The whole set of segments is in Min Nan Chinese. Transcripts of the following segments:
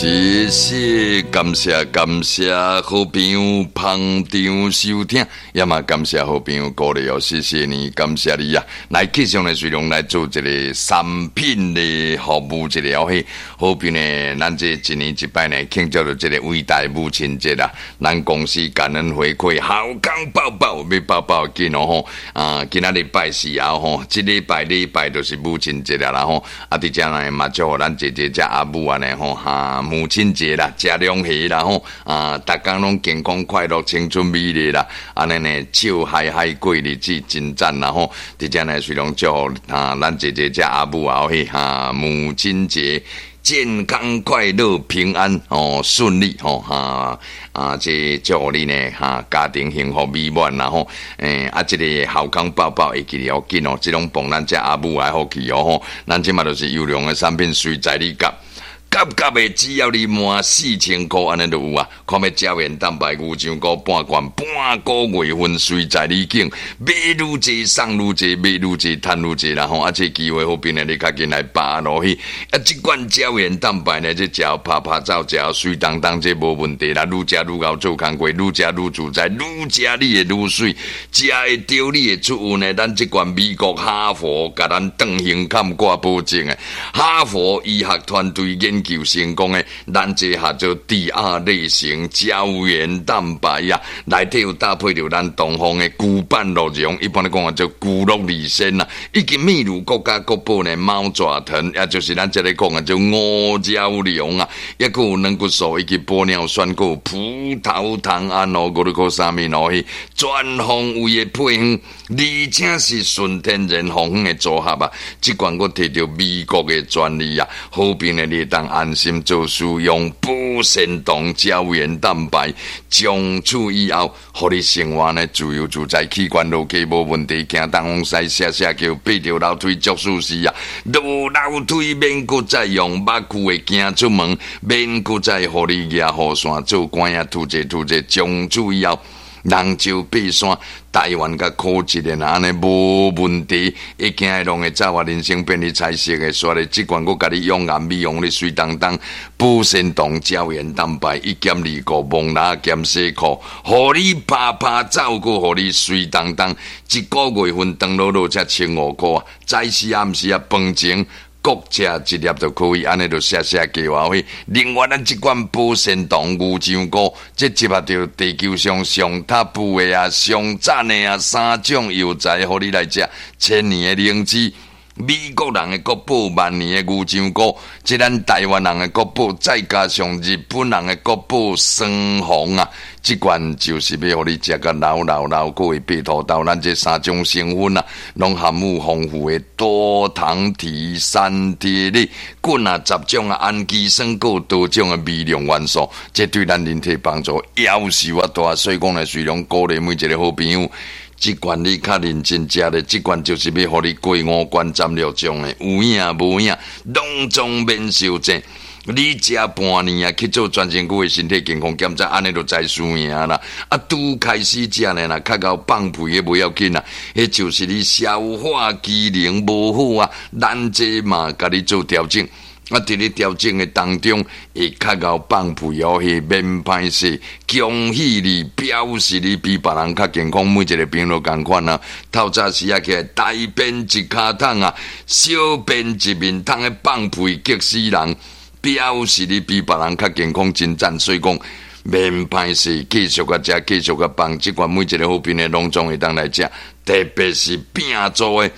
謝謝，感謝感謝好朋友捧場收聽，也嘛感謝好朋友鼓勵哦，謝謝你，感謝你啊！來繼續呢，隨量來做一個產品的服務，一個哦嘿，好朋友呢，咱這一年一擺呢，慶祝著這個偉大母親節啊，咱公司感恩回饋，好康報報，欲報報緊哦吼！啊，今仔日拜四啊吼，這禮拜禮拜就是母親節啦吼，啊，佇遮呢嘛祝福咱姐姐遮阿母按呢吼，哈，母親節啦，食兩蝦啦吼，啊，逐工攏健康快樂、青春美麗啦，按呢呢笑嗨嗨過日子，真讚啦吼！佇遮呢隨量祝福啊，咱姐姐遮阿母啊嘿哈，母親節健康快樂平安哦，順利吼哈啊！這祝福你呢哈，家庭幸福美滿啦吼！欸，啊，這個好康報報會記得要緊哦，這攏幫咱遮阿母來福氣哦吼！咱這馬就是優良的產品，隨在你夾。夾夾的，只要你滿4000箍，按呢就有啊。看欲膠原蛋白牛樟菇半罐，半個月份隨在你揀，買愈濟送愈濟，買愈濟趁愈濟啦吼。啊，這機會好變呢，你較緊來把握落去。啊，這罐膠原蛋白呢，這食拍拍走，食媠當當，這無問題啦。愈食愈𠢕做工課，愈食愈自在，愈食你會愈媠，食會著你會出運的。咱這罐美國哈佛共咱斷胸坎掛保證的，哈佛醫學團隊研究成功的，咱這叫做第二類型膠原蛋白啊，內底有搭配著咱東方的龜板鹿茸，一般來講叫做龜鹿二仙啊，以及秘魯國家國寶呢貓爪藤，也就是咱這裡講的叫五角龍啊，抑閣有軟骨素以及玻尿酸，閣有葡萄糖胺哦，閣有啥物哦，全方位的配方，而且是純天然方的組合啊，這款閣提著美國的專利啊，好朋友你會當安心做使用保鮮糖膠原蛋白，從此以後，予你生活呢自由自在，器官落地無問題，行東風西寫寫叫爬著樓梯足舒適啊，落樓梯免閣再用目睭會行出門，免閣再予你舉雨傘做官仔吐者吐者，從此以後，人就爬山，台灣佮苦一個按呢無問題，會驚會攏會走啊！人生變得彩色的，煞咧這款閣共你養顏美容，你媠當當，保鮮糖膠原蛋白一減二顧，蒙拉減洗褲，予你拍拍走，閣予你媠當當，一個月份長落落才1500箍啊！早時暗時啊，飯前各食一粒就可以，按呢就寫寫計劃費。另外，咱這款保鮮糖牛樟菇，這集合著地球上上 top 的啊，上讚的啊，三種藥材，予你來食，千年的靈芝，美國人的國寶，萬年的牛樟菇，這咱台灣人的國寶，再加上日本人的國寶雙紅啊！這款就是欲予你食甲老老老，閣會爬塗豆。咱這三種成分啊，攏含有豐富的多糖體、三萜類、菌啊、十種啊、氨基酸，閣有多種的微量元素，這對咱人體幫助夭壽啊大。所以講呢，雖然鼓勵每一個好朋友，這罐你較認真食咧，這罐就是欲予你過五關斬六將的，有影無影，攏總免受煎。你食半年啊，去做全身軀的身體健康檢查，按呢就知輸贏啦。啊，拄開始食呢，若較𠢕放屁彼無要緊啊，彼就是你消化機能無好啊，咱這嘛共你做調整。啊，佇咧調整的當中，會較𠢕放屁哦，彼免歹勢，恭喜你，表示你比別人較健康，每一個朋友仝款啊。透早時啊起來，大便一跤桶啊，小便一面桶的放屁激死人，表示你比別人較健康，真讚。所以講，免歹勢，繼續共食，繼續共放，這款每一個好朋友攏總會當來食，特別是餅做的。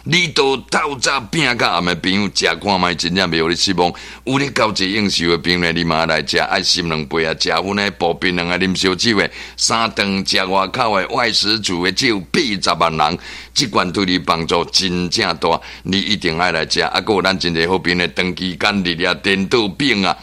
你都透早拼到暗的朋友，食看覓真正袂予你失望。有咧交際應酬的朋友，你嘛來食，愛心兩杯啊，食薰的步檳榔啊，啉燒酒的，三頓食外口的外食族的，只有80萬人，這款對你幫助真正大，你一定愛來食。啊，閣有咱真濟好朋友，長期間日啊，顛倒病啊。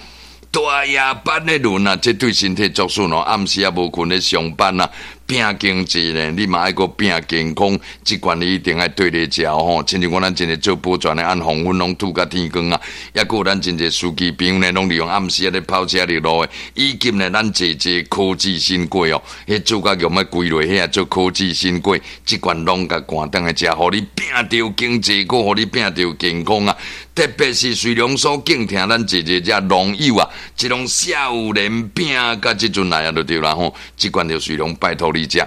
大夜班的輪啊，這對身體作損哦。暗時也無睏咧上班啊，拼經濟呢，你嘛愛閣拼健康，這款你一定愛對咧食吼。親像講咱真濟做保全的，按黃昏攏吐甲天光啊，抑閣有咱真濟司機朋友呢，攏利用暗時仔咧跑車入路的，以及呢，咱濟濟科技新貴哦，彼做甲用欲歸落遐做科技新貴，這款攏共趕轉來食，予你拼著經濟，閣予你拼著健康啊！特別是瑞龍所敬聽咱這這這農友啊，這種少年餅佮這陣來啊，就對啦吼。這款就瑞龍拜託你食。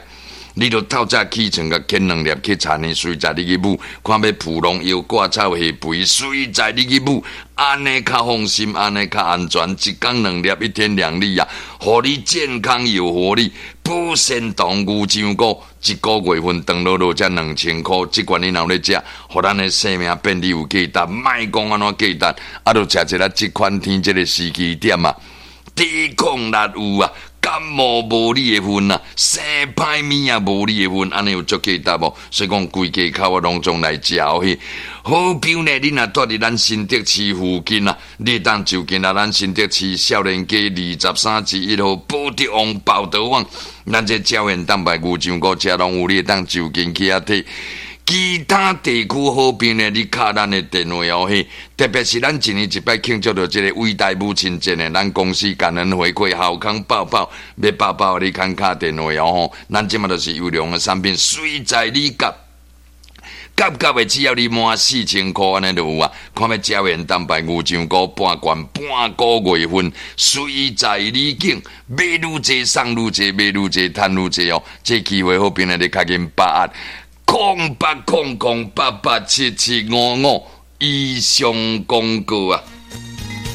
你著透早起床，共啃兩粒去田呢，隨在你去舞，看欲蒲農藥割草下肥，隨在你去舞，按呢較放心，按呢較安全。一工兩粒，一天兩粒啊，予你健康又活力。保鮮糖牛樟菇，一個月份長落落才2000箍。這款你若有咧食，予咱的生命變得有價值。莫講按怎價值，啊，著食一下這款天這个時機點啊，抵抗力有啊。感冒無你的份啊，生歹物也無你的份，按呢有足價值無？所以講規家口啊，攏總來食哦。好朋友呢，你若蹛佇咱新竹市附近啊，你會當就近來咱新竹市少年街23之1號寶德旺寶德旺，咱這膠原蛋白牛樟菇遮攏有，你會當就近去遐提。其他地區好朋友呢，你敲咱的電話哦嘿，特別是咱一年一擺慶祝著這個偉大母親節呢，咱公司感恩回饋，好康報報，欲報報你較敲電話哦吼。咱這馬就是優良的產品，隨在你夾。夾夾的只要你滿4000箍按呢就有啊。看欲膠原蛋白牛樟菇半罐半個月份，隨在你揀，買愈濟送愈濟，買愈濟趁愈濟哦。這機會好朋友你較緊把握。0800887755以上廣告啊！